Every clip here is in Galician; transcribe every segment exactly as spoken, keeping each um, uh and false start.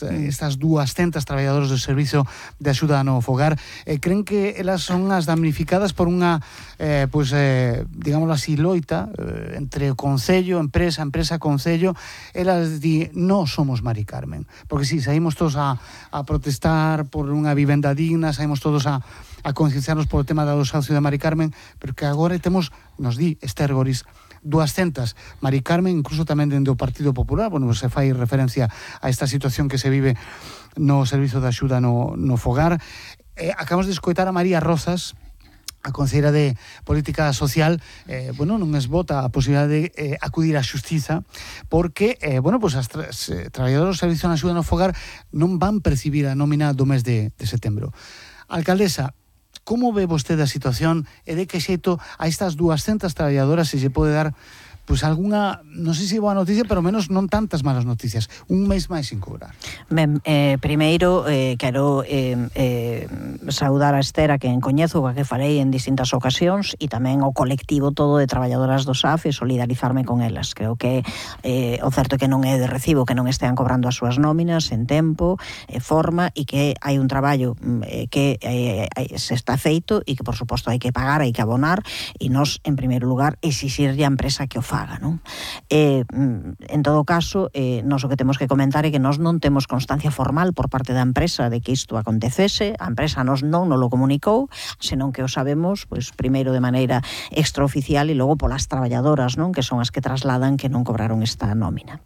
estas duascentas traballadoras do Servizo de Axuda no Fogar, eh, creen que elas son as damnificadas por unha, eh, pues, eh, digámoslo así, loita eh, entre o Concello, empresa, empresa, Concello. Elas di, non somos Mari Carmen, porque si, saímos todos a, a protestar por unha vivenda digna, saímos todos a, a concienciarnos por o tema do desahucio de Mari Carmen, pero que agora temos, nos di Esther Goris, duascentas Mari Carmen, incluso tamén dentro do Partido Popular. Bueno, se fai referencia a esta situación que se vive no Servizo de Axuda no, no Fogar. Eh, acabamos de escoitar a María Rozas, a conselleira de Política Social. Eh, bueno, non esbota a posibilidade de eh, acudir á xustiza, porque, eh, bueno, pues as tra eh, traballadoras do Servizo de Axuda no Fogar non van percibir a nómina do mes de, de setembro. Alcaldesa, como ve vostede a situación e de que xeito a estas duascentas traballadoras se lle pode dar, pois, algunha, non sei se boa noticia, pero menos non tantas malas noticias, un mes máis sin cobrar? Ben, eh, primeiro, eh, quero eh, eh, saudar a Esther, a quen coñezo, a que farei en distintas ocasións, e tamén o colectivo todo de traballadoras do S A F, e solidarizarme con elas. Creo que eh, o certo é que non é de recibo que non estean cobrando as súas nóminas en tempo, e forma, e que hai un traballo eh, que eh, se está feito e que, por suposto, hai que pagar, hai que abonar, e nós, en primeiro lugar, exixirlle a empresa que o faga, non? Eh, en todo caso, eh, nós o que temos que comentar é que nós non temos constancia formal por parte da empresa de que isto acontecese. A empresa nos non nos lo comunicou, senón que o sabemos, pois, primeiro de maneira extraoficial e logo polas traballadoras, non? Que son as que trasladan que non cobraron esta nómina.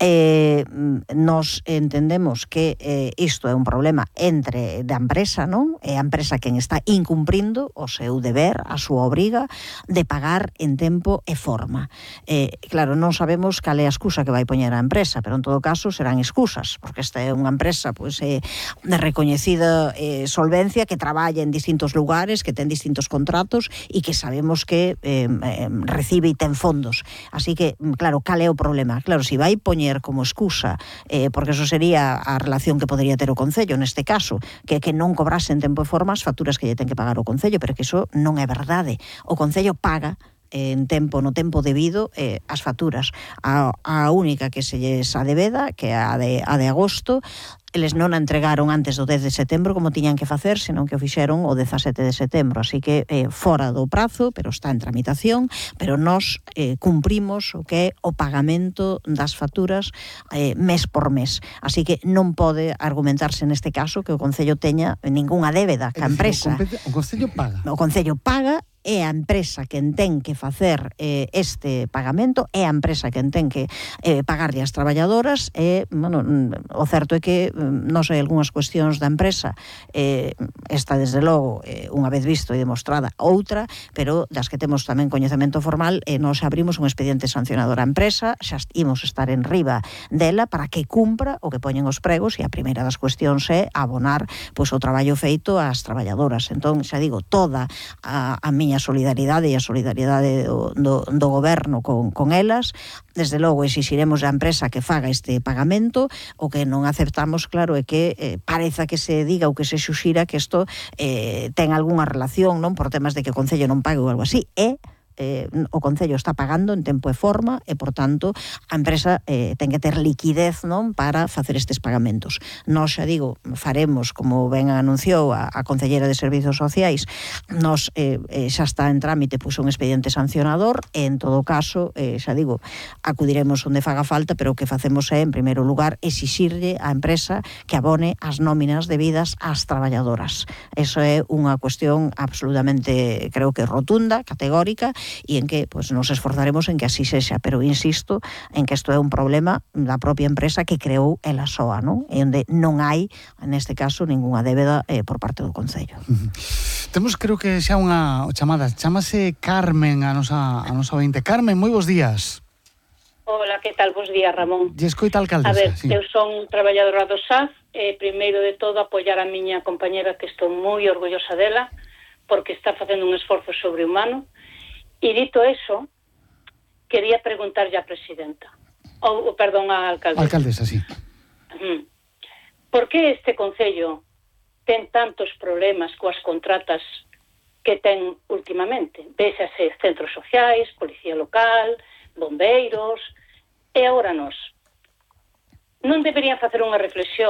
Eh, nos entendemos que eh, isto é un problema entre da empresa, non? É a empresa quen está incumprindo o seu deber, a súa obriga de pagar en tempo e forma. Eh, claro, non sabemos cal é a excusa que vai poñer a empresa, pero en todo caso serán excusas, porque esta é unha empresa, pois, eh, de recoñecida eh, solvencia, que traballa en distintos lugares, que ten distintos contratos e que sabemos que eh, eh, recibe e ten fondos. Así que, claro, cal é o problema? Claro, se vai poñer como excusa, eh, porque eso sería a relación que podría ter o Concello neste caso, que que non cobrase en tempo e forma as facturas que lle ten que pagar o Concello, pero que iso non é verdade. O Concello paga en tempo, no tempo debido, eh, as facturas. A, a única que se lles adebeda, que é a de, a de agosto, eles non a entregaron antes do dez de setembro como tiñan que facer, senón que o fixeron o dezasete de setembro, así que eh, fora do prazo, pero está en tramitación, pero nós eh, cumprimos o que é o pagamento das facturas eh, mes por mes, así que non pode argumentarse neste caso que o Concello teña ningunha débeda ca empresa. O Concello paga. O Concello paga, é a empresa quen ten que facer eh, este pagamento, é a empresa quen ten que eh, pagarlle as traballadoras, e, bueno, o certo é que non sei, algunhas cuestións da empresa, eh, esta, desde logo, eh, unha vez visto e demostrada, outra, pero das que temos tamén coñecemento formal, eh, nos abrimos un expediente sancionador á empresa, xa imos estar en riba dela para que cumpra o que poñen os pregos, e a primeira das cuestións é abonar, pois, o traballo feito ás traballadoras. Entón, xa digo, toda a, a miña a solidaridade e a solidaridade do, do, do goberno con, con elas. Desde logo exixiremos a empresa que faga este pagamento. O que non aceptamos, claro, é que eh, pareza que se diga ou que se xuxira que isto eh, ten algunha relación, non, por temas de que o Concello non pague ou algo así. É Eh, o Concello está pagando en tempo e forma, e, por tanto, a empresa eh, ten que ter liquidez, non, para facer estes pagamentos. Nós, xa digo, faremos, como ben anunciou a, a Concelleira de Servizos Sociais, nos eh, eh, xa está en trámite, pois, un expediente sancionador, e, en todo caso, eh, xa digo, acudiremos onde faga falta, pero o que facemos é, en primeiro lugar, exixirlle á empresa que abone as nóminas debidas ás traballadoras. Eso é unha cuestión absolutamente, creo que rotunda, categórica, e en que, pues, nos esforzaremos en que así sexa, pero insisto en que isto é un problema da propia empresa que creou ela soa, non? E onde non hai, neste caso, ningunha débeda eh, por parte do Concello. Uh-huh. Temos, creo que xa unha chamada, chamase Carmen, a nosa, a nosa ointe. Carmen, moi bons días. Hola, que tal? Bos días, Ramón. E escoita, alcaldesa. A ver, sí. Eu son traballadora do S A F, e primeiro de todo apoiar a miña compañera, que estou moi orgullosa dela, porque está facendo un esforzo sobrehumano. E dito eso, quería preguntarlle á presidenta, ou, perdón, á alcaldesa. Alcaldesa, sí. Uh-huh. Por que este Concello ten tantos problemas coas contratas que ten últimamente? Véxase centros sociais, policía local, bombeiros, e agora nós. Non deberían facer unha reflexión